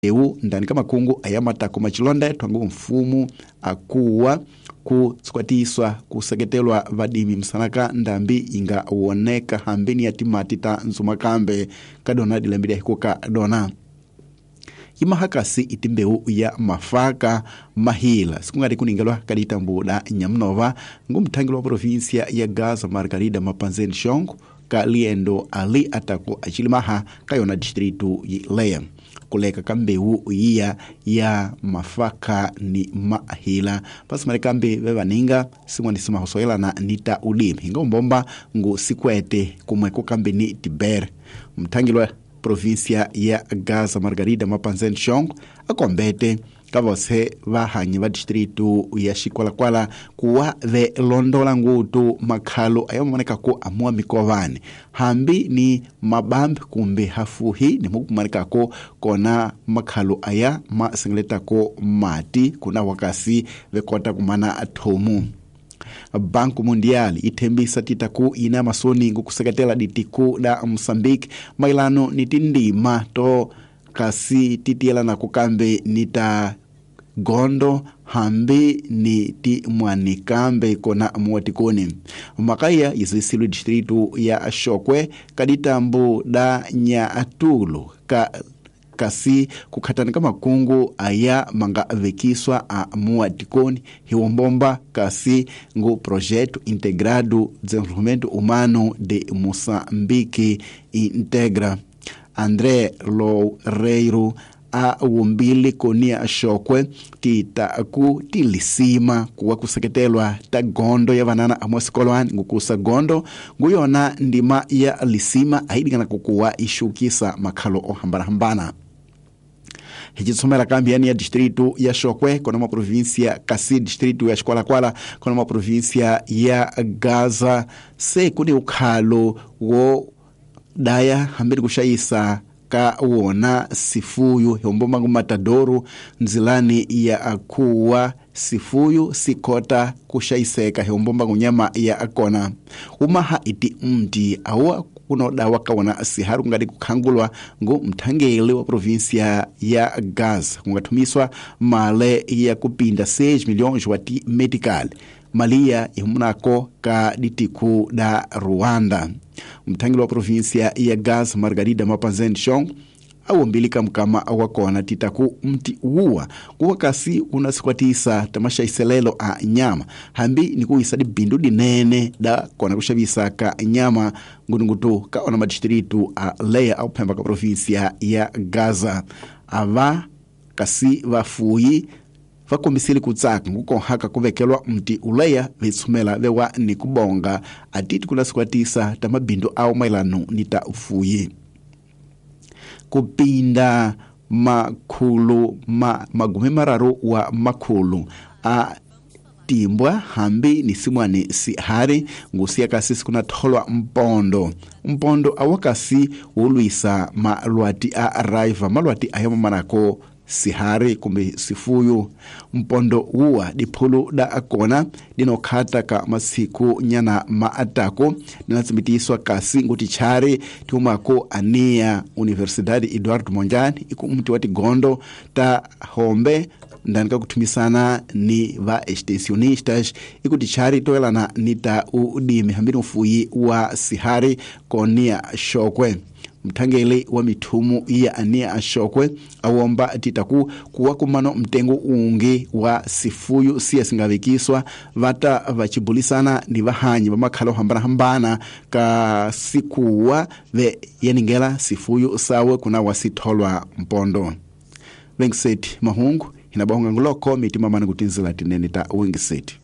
Eu ndani ka makungu aya matako machilonda thwangu mfumu akuwa kutsukwatiswa kuseketelwa vadimi msanaka ndambi inga woneka hambini ya timati ta nzumakambe kadona dilambili hikuka dona imahakasi itimbeu ya mafaka mahila sikungati kuningelwa kaditambu da nyamunova ngumthangeli wa província ya Gaza Margarida Mapanzeni Shongo ka liendo ali atako acilimaha kayona distritu yileya kuleka ka mbewu yiya ya mafaka ni mahila pasimale kambe vevaninga simwani simahosoelana ni ta ulimi hinga umbomba ngu sikwete kumweko kambe ni tibere mthangeli wa província ya Gaza Margarida Mapanzeni Shongo akombete kavose vahanyi va distritu ya Xikwalakwala kuwa ve londola ngutu makhalo ayamonekako amuwa mikovani hambi ni mabambi kumbe hafuhi nimukumanekako kona makhalo aya masengeletako mati kuna wakasi vekota kumana thomu. Banco Mundial ithembisa titaku ina masoni ngukuseketela ditiku da Moçambique mailano ni tindima to kasi titielana kukambe nita gondo hambi ni ti mwanikambe kona muwatikoni makaya yizisilu distritu ya Xokwe kaditambu da Nyaatulu ka kasi kukhatana ka makungu aya manga vekiswa a muwatikoni hiwombomba kasi ngu projeto integrado desenvolvimento humano de Moçambique integra. André Loureiro a wumbili konia Xokwe titaku tilisima kuwa kuseketelwa ta gondo ya vanana amwasikolwani ngukusa gondo nguyona ndima ya lisima aidikana kukuwa ishukisa makhalo ohambanahambana. Hicitsomela kambi yani ya distritu ya Xokwe kona ma província kasi distritu ya Xikwalakwala kona ma província ya Gaza se kuni ukhalo wo daya hambiri kushayisa ka wona sifuyu hombomba matadoru nzilani ya akuwa sifuyu sikota kushayiseka hombomba ngunyama ya akona umaha iti mti awa kunodawa kawona siharu kungati kukhangulwa ngu mthangeli wa província ya Gaza kungathumiswa male ya kupinda 6 milhões wa ti medical malia ihumunako ka ditiku da Rwanda. Mthangeli wa província ya Gaza Margarida Mapanzeni Shongo awombilika mkama wakona titaku mti uwa kuwa kasi unasikwatisa tamasha iselelo a nyama hambi nikuisa dibindu dinene da kona kushavisa ka nyama ngunungutu kaona madistritu a leya au phemba ka província ya Gaza ava kasi vafuyi vakombisile kutsaka ngukonhaka kuvekelwa mti uleya vetsumela vewa ni kubonga atiti kunasikwatisa tamabindu awo mailano ni ta ufuyi kupinda makhulu magumi mararu wa makhulu a timbwa hambi ni simwani sihari ngusiya kasi sikunatholwa mpondo mpondo awakasi wolwisa malwati a raiva malwati ayamomanako sihari kumbe sifuyu mpondo uwa diphulu da akona dinokhata ka masiku nyana maatako dinatsimitiswa kasi nguti chari tiumako ania Universidade Eduardo Mondlane iku mti wa tigondo ta hombe ndani kakuthumisana ni va extensionistas ikuti chari toelana ni ta udimi hambini ufuyi wa sihari konia Xokwe. Mthangeli wa mithumu ya ania Xokwe awomba titaku kuwa kumano mtengo ungi wa sifuyu siya singavekiswa vata vachibulisana ni vahanyi vamakhala ohambanahambana ka sikuwa ve yeningela sifuyu sawe kuna wasitholwa mpondo. Wengiseti mahungu hinabahunga nguloko mitima mani kutinzila tinene ta wengiseti.